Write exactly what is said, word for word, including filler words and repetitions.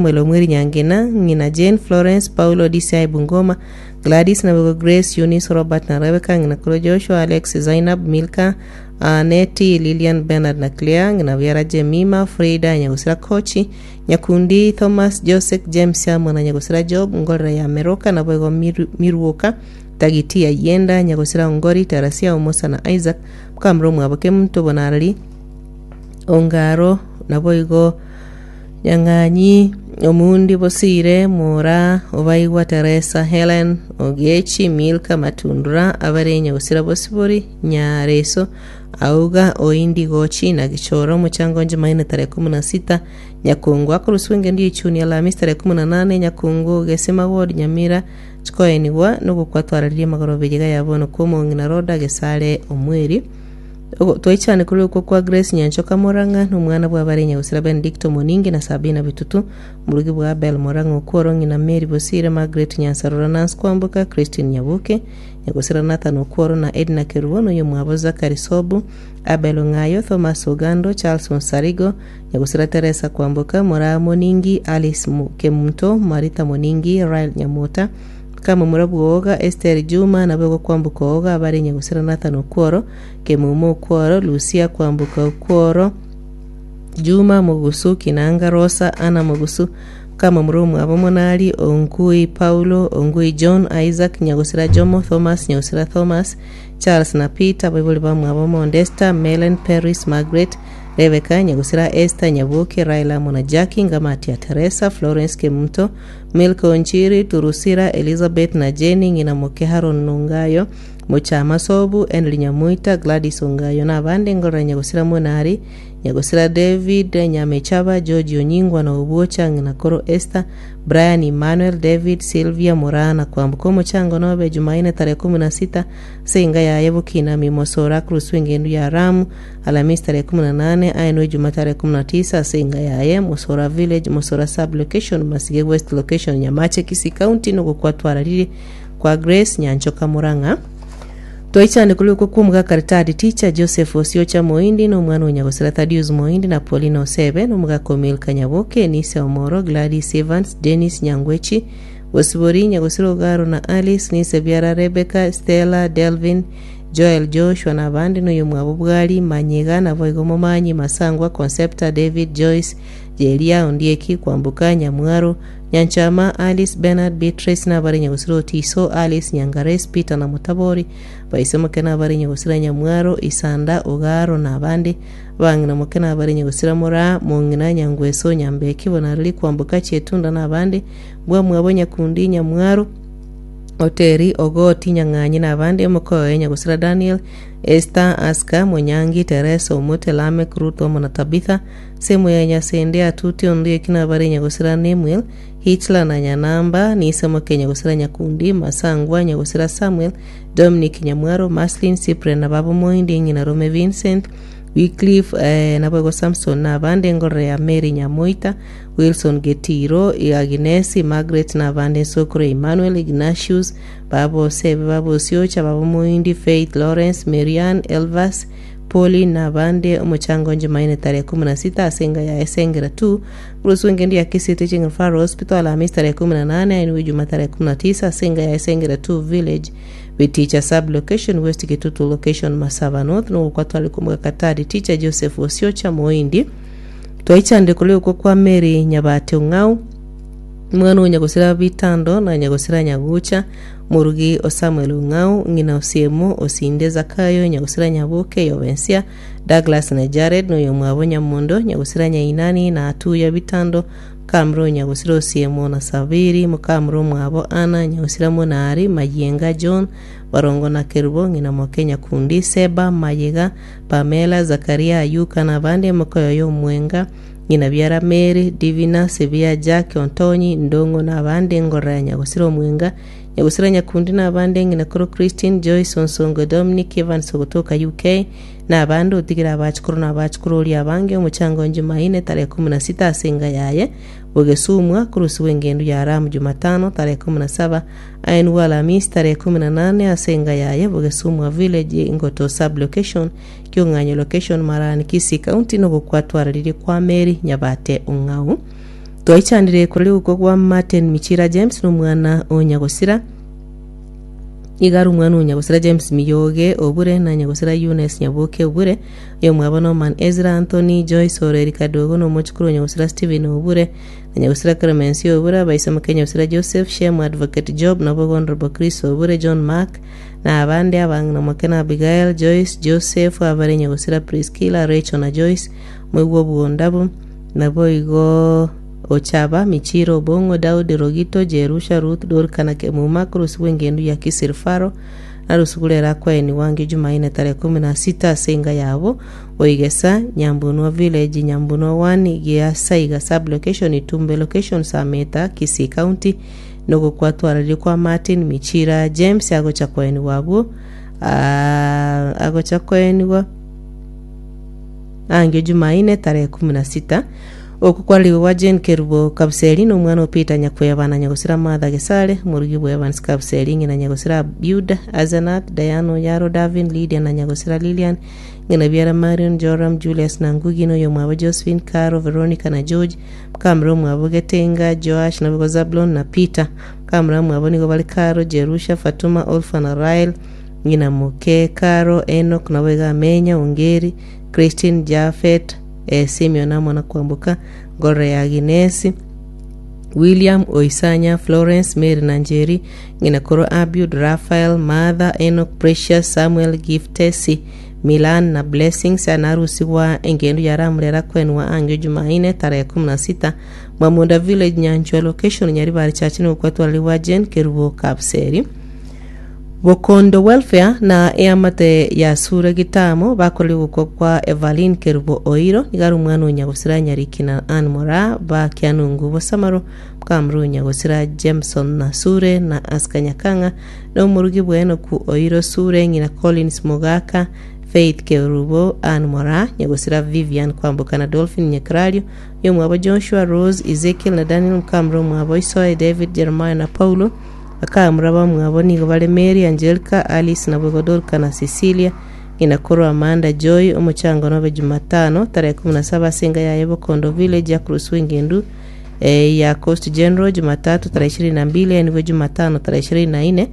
Samuel Omweri Nyangena, ng'ina Jane, Florence, Paulo D C I Bungoma, Gladys Nabego, Grace, Eunice, Robert na Rebecca, ng'ina koro Joshua, Alex, Zainab, Milka, Aneti, Lilian, Bernard na Claire, ng'ina biara Jemima, Frida, Nyagusira Kochi, Nyakundi, Thomas, Joseph, James amo na Nyagusira Job, Ngorera ya Meroka naboigo Miru- Miruoka, Tagiti ya Yenda, Nyagusira Ongori, Tarasia, Omosa na Isaac, Mukamura omwabo Kemunto Bonarari, Ongaro naboigo Nyang'anyi, Omundi Bosire, Mora, Obaigwa Teresa, Helen, Ogechi, Milka Matundura, abare Nyagusira Bosibori, Nyareso, Auga, Oindi Gochi na Gichoro. Omochango Jumanne tarehe kumi na sita Nyakungu akoruswa engendo yechuni Alhamisi tarehe kumi na nane Nyakungu Gesima Ward Nyamira chikoenigwa nogokwatwararirie magoroba iga ya bono kwa omong'ina Roda Gesare Omweri. Ogo- twaichane kuri okwo kwa Grace Nyanchoka Morang'a nomwana bwabare Nyagusira Benedicto Moningi na Sabina Bitutu, murugi bwa Abel Morang'a Okworo, ng'ina Mary Bosire, Margaret Nyansarora, Nancy Kwamboka, Christine Nyabuke, Nyagusira Nathan Okworo na Edna Kerubo, noyo mwabo Zakari Sobu, Abel Ong'ayo, Thomas Ogando, Charles Onsarigo, Nyagusira Teresa Kwamboka, Moraa Moningi, Alice Mu- Kemunto, Marita Moningi, Rael Nyamota, Kamomura Bwoga, Esther Juma nabo Kwamboka Oga, abare Nyagusira Nathan Okworo, Kemumo Okworo, Lucia Kwamboka Okworo, Juma Mugusu, Kinanga Rosa, Ana Mugusu, Kamomura omwabo Monari, Ongui Paulo, Ongui John, Isaac Nyagusira Jomo, Thomas Nyagusira Thomas, Charles na Peter, baibori bamwabo Mondesta, Melen, Paris, Margaret, Rebecca, Nyagusira Esther Nyabuke, Raila Mona, Jackie Ngamatia, Teresa, Florence Kemunto, Milka Onchiri, Turusira, Elizabeth na Jenny, ng'ina moke Haron Nungayo, Muchama Sobu, Henry Nyamuita, Gladys Ongayo na abande. Ngorora Nyagusira Monari, Nyagusira David Nyamechaba, George Onyingwa na Obuocha, ng'ina koro Esther, Brian, Emmanuel, David, Sylvia Morana Kwambuka. Omochango nobe Jumaine tarehe kumi na sita senga yaye Bukinami Mosora kurusu engendu ya Ramu, Alhamisi tarehe kumi na nane aenwe Juma tarehe kumi na tisa senga yaye Mosora Village, Mosora Sub Location, Masige West Location, Nyamache, Kisii County. Nogokwatwararire kwa Grace Nyanchoka Murang'a. Twaichane kuri uko kumuga karitadi teacher Joseph Osiocha Moindi n'omwana wa Nyagosira Thaddeus Moindi na Paulina Osebe n'omugaka Milka Nyaboke, Nise Omoro, Gladys Evans, Dennis Nyangwechi Bosibori, Nyagosira Ogaro na Alice Nise Biara, Rebecca, Stella, Delvin, Joel, Joshua na abandi, n'oyo mwabo Bwali Manyega naboigo Momanyi Masangwa, Concepta, David, Joyce, Jeria, Ondieki, Kwambuka, Nyamwaro, Nyanchama, Alice, Bernard, Beatrice n'abari Nyagosira Otiso, Alice Nyangares, Peter na Mutabori, baisemoke n'abari Nyagosira Nyamwaro, Isanda, Ogaro na abandi, bang'ina moke n'abari Nyagosira Mora, Mong'ina Nyangweso, Nyambeki, Bonariri, Kwambuka, Chetunda na abandi, bwamwabo Nyakundi, Nyamwaro, Oteri, Ogoti, Nyang'anyi na abandi, omokoe Nyagosira Daniel, Esther, Aska, Monyangi, Teresa, Omote, Lamek, Ruth omo na Tabitha, semu ya Nyasende, Atuti, Ondieki na abari Nyagosira Nemuel, Hitler na Nyanamba, Nisemoke Nyagosira Nyakundi, Masangwa, Nyagosira Samuel, Dominic Nyamwaro, Maslin, Cyprian na babo Moindi, ng'ina Rome Vincent, Wycliffe eh, naboigo Samson na abande, engorore ya Mary Nyamoita, Wilson Getiro, Agnesi, Margaret na abande, Sokoro Emmanuel, Ignatius, babo Sebe, babo Siocha, babo Moindi, Faith, Lawrence, Marian, Elvas, Poli na abande. Omochango Jumanne tarehe kumi na sita asenga ya Esengera tu kurusu engendi ya Kisii Teaching Referral Hospital, Alhamisi tarehe kumi na nane ainwe Juma tarehe kumi na tisa asenga ya Esengera two Village, Biticha Sub Location, West Kitutu Location, Masava North. Nogukwatwali kumuga katari teacher Joseph Osiocha Moindi. Twaichande kuri uko kwa Mary Nyabate Ong'au, mwana wa Nyagosira Bitando na Nyagosira Nyagucha, murugi o Samuel Ong'au, ng'ina Osiemo, Osinde, Zakayo, Nyagosira Nyabuke, Yobensia, Douglas na Jared, noyo mwabo Nyamondo, Nyagosira Nyainani na Atuya Bitando, mukamuro Nyagosira Osiemo na Sabiri, mukamuro mwabo Ana, Nyagosira Monari, Mayenga, John Barongo na Kerubo, ng'ina moke Nyakundi, Seba, Mayega, Pamela, Zakaria, Ayuka na abande, mokoyoyo Omwenga, ng'ina biara Mary, Divina, Sevia, Jack, Ontonyi, Ndongo na abande, ngorora ya Nyagosira Omwenga, Nyagosira Nyakundi na abande, ng'ina koro Christine, Joyce, Onsongo, Dominic Evans ogotoka U K na abande, otigera abachukuru na abachukuru ori abange. Omochango Jumaine tarehe kumi na sita asenga yaye Bogesumwa kurusiwa engendo ya Ramu Jumatano tarehe kumi na saba aenwa Alhamisi tarehe kumi na nane asenga yaye Bogesumwa Village, Ngoto Sub Location, Kiong'anyo Location, Marani, Kisii County. Nogokwatwararirie kwa Mary Nyabate Ong'au. Twaichanire koreri gokwa gwa Martin Michira James nomwana o Nyagosira. Iga are omwana o Nyagosira James Miyoge Obure na Nyagosira Eunice Nyaboke Obure. Oyomwabo Norman Ezra Anthony Joyce Oreri Kadogo na omochukuru o Nyagosira Stephen Obure na Nyagosira Clemency Obure abaisamoke Nyagosira Joseph Shem Advocate Job nabo Honorable Chris Obure John Mark na abande abang'ina moke na Abigail Joyce Joseph abare Nyagosira Priscilla Rachel na Joyce moigwa obwondabu naboigo Ochaba Michiro Obong'o Daudi Rogito Jerusha Ruth Dorika na Kemuma korosibwa engendu ya Kisir Faro narusugurera akwaeni wange Jumaine tarehe kumi na sita ase enga yabo Oigesa Nyambunwa Village Nyambunwa one Giasaiga sub location Itumbe location Sameta Kisii County nogokwatwarire kwa Martin Michira James agocha kwaeniwa abwo ah, agocha kwaeniwa angio Jumaine tarehe kumi na sita. Oku kwaririwe gwa Jane Kerubo Kabuseri na omwana o Peter Nyakweba na Nyagosira Martha Gesare morugi bwa Evans Kabuseri ng'ina Nyagosira Buda Azenath Diana Oyaro Davin Lydia na Nyagosira Lilian ng'ina biara Marion Joram Julius na Ngugi na oyomwabo Josephine Caro Veronica na George mukamura omwabo Getenga Joash naboigo Zablon na Peter mukamura mwabo nigo bari Caro Jerusha Fatuma Olfa na Rael ng'ina moke Caro Enoch naboigo Amenya Ongeri Christine Jafet eh, Simeon amo na Kwamboka Ngorore ya Aginesi William Oisanya Florence Mary na Njeri ng'ina koro Abiud Raphael Martha Enoch Precious Samuel Giftesi Milan na Blessings anarusigwa engendo yaramurera kwenwa angio Jumaine tarehe kumi na sita Mwamunda Village Nyanchwa location Nyaribari Church nokwatwaririwa Jane Kerubo Kapseri. Bokondo Welfare na eamate ya Sure Gitamo bakorire gokwa kwa Evelyn Kerubo Oiro nigari omwana o Nyagosira Nyariki na Ann Mora ba Kianungu Bosamaro mukamuru Nyagosira Jameson na Sure na Aska Nyakang'a na omorugi bwenoku Oiro Sure ng'ina Collins Mogaka Faith Kerubo Ann Mora Nyagosira Vivian Kwamboka na Dolphin Nyakrario yomwabo Joshua Rose Ezekiel na Daniel mukamuru omwabo Isoe David Jeremiah na Paulo bakamura bamwabo nigo bare Mary Angelica Alice na Dorka na Cecilia ng'ina koro Amanda Joy. Omochango nobe Jumatano tarehe kumi na saba ase yaye Bokondo Village ya Kurusu engendu eh, ya Coast General Jumatatu tarehe ishirini na mbili eniwe Jumatano tarehe ishirini na nne.